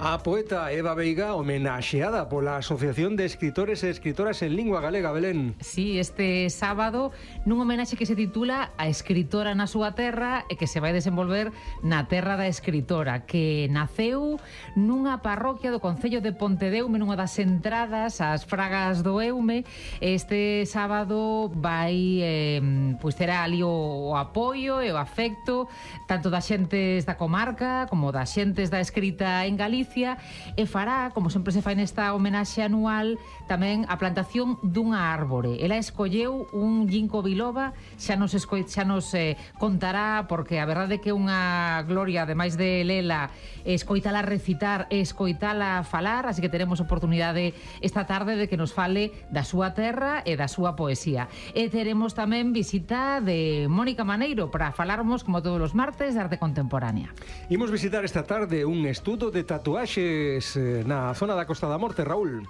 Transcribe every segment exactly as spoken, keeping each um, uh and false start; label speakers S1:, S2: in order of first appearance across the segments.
S1: A poeta Eva Veiga, homenaxeada pola Asociación de Escritores e Escritoras en Lingua Galega, Belén.
S2: Sí, este sábado nun homenaxe que se titula A escritora na súa terra e que se vai desenvolver na terra da escritora, que naceu nunha parroquia do concello de Pontedeume, nunha das entradas ás Fragas do Eume. Este sábado vai eh, pois terá ali o, o apoio e o afecto tanto das xentes da comarca como das xentes da escrita en Galicia, e fará, como sempre se fai nesta homenaxe anual, tamén a plantación dunha árbore. Ela escolleu un ginkgo biloba, xa nos, esco... xa nos eh, contará, porque a verdade é que é unha gloria, ademais de lela, escoitala recitar e escoitala falar, así que teremos oportunidade esta tarde de que nos fale da súa terra e da súa poesía. E teremos tamén visita de Mónica Maneiro para falarmos, como todos os martes, de arte contemporánea.
S1: Imos visitar esta tarde un estudo de tatuaxes na zona da Costa da Morte, Raúl.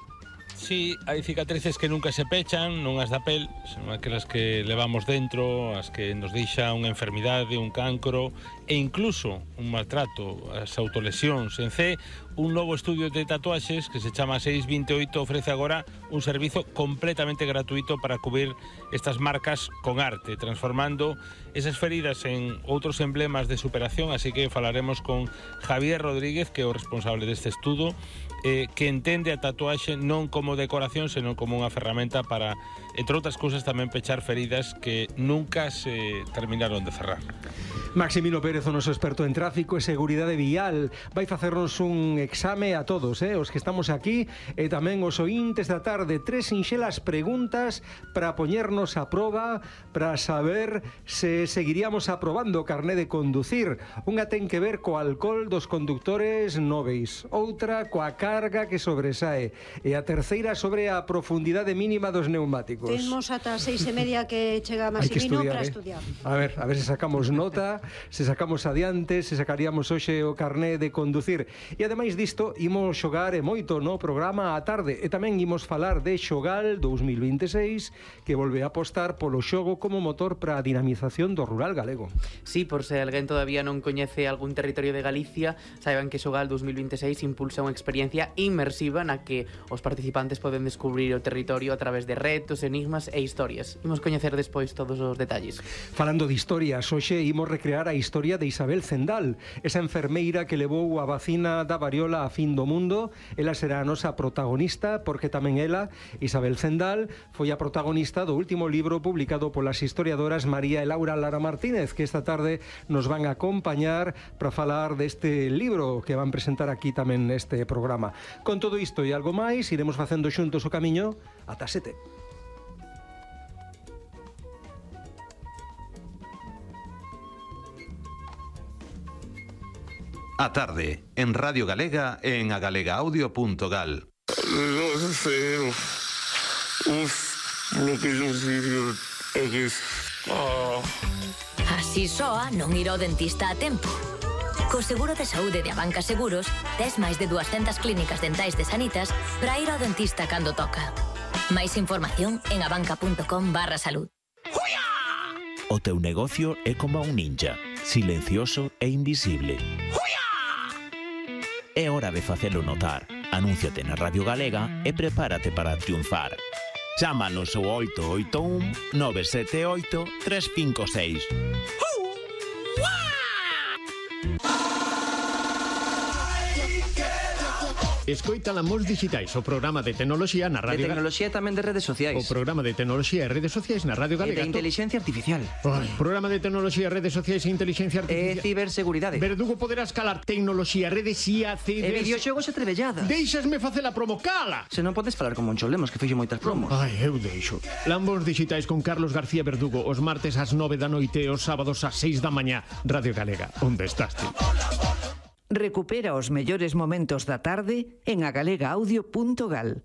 S3: Sí, hai cicatrices que nunca se pechan, non as da pel, son aquelas que levamos dentro, as que nos deixa unha enfermidade, un cancro e incluso un maltrato, as autolesións. En C, un novo estudio de tatuaxes que se chama seis vinte e oito ofrece agora un servizo completamente gratuito para cubrir estas marcas con arte, transformando esas feridas en outros emblemas de superación. Así que falaremos con Javier Rodríguez, que é o responsable deste estudo, eh, que entende a tatuaxe non como decoración, senón como unha ferramenta para, entre outras cousas, tamén pechar feridas que nunca se terminaron de cerrar.
S1: Maximino Pérez, o noso experto en tráfico e seguridade vial, vai facernos un exame a todos, eh, os que estamos aquí, e tamén os ointes da tarde. Tres sinxelas preguntas para poñernos a proba, para saber se seguiríamos aprobando o carné de conducir. Unha ten que ver co alcohol dos condutores nóveis, outra coa carga que sobresae, e a terceira sobre a profundidade mínima dos neumáticos.
S4: Temos ata seis e media que chega Maximino para estudiar.
S1: A ver, a ver se sacamos nota, se sacamos adiante, se sacaríamos hoxe o carné de conducir. E ademais disto, imos xogar e moito no programa á tarde, e tamén imos falar de Xogal dous mil vinte e seis, que volve a apostar polo xogo como motor para a dinamización do rural galego.
S5: Sí, por se alguén todavía non coñece algún territorio de Galicia, saiban que Xogal dous mil vinte e seis impulsa unha experiencia inmersiva na que os participantes poden descubrir o territorio a través de retos, enigmas e historias. Imos coñecer despois todos os detalles.
S1: Falando de historias, hoxe imos recrear a historia de Isabel Zendal, esa enfermeira que levou a vacina da variola a fin do mundo. Ela será a nosa protagonista, porque tamén ela, Isabel Zendal, foi a protagonista do último libro publicado polas historiadoras María e Laura Lara Martínez, que esta tarde nos van a acompañar para falar deste libro que van presentar aquí tamén neste programa. Con todo isto e algo máis, iremos facendo xuntos o camiño ata sete.
S6: A tarde, en Radio Galega e en agalegaaudio punto gal.
S7: Non sei, uf, lo que non sei é que...
S8: Así soa non ir ao dentista a tempo. Co seguro de saúde de Abanca Seguros, tes máis de duascentas clínicas dentais de Sanitas para ir ao dentista cando toca. Máis información en abanca punto com barra salud.
S9: O teu negocio é como un ninja, silencioso e invisible. É hora de facelo notar. Anúnciate na Radio Galega e prepárate para triunfar. Chámanos ao oito oito un nove sete oito tres cinco seis.
S10: Escoita Lamos Digitais, o programa de tecnoloxía na Radio
S11: Galega. De tecnoloxía e tamén de redes sociais.
S10: O programa de tecnoloxía e redes sociais na Radio Galega.
S11: E de inteligencia artificial.
S10: Ai, programa de tecnoloxía, redes sociais e inteligencia artificial.
S11: E ciberseguridade.
S10: Verdugo poderás calar tecnoloxía, redes I A, ciber...
S11: E videoxogos e trebelladas.
S10: Deixasme facer a promo, cala!
S11: Se non podes falar con Moncho Lemos, que fixo moitas promos.
S10: Ai, eu deixo. Lambos Digitais con Carlos García Verdugo, os martes ás nove da noite e os sábados ás seis da mañá. Radio Galega, onde estás ti?
S12: Recupera os mellores momentos da tarde en agalegaaudio punto gal.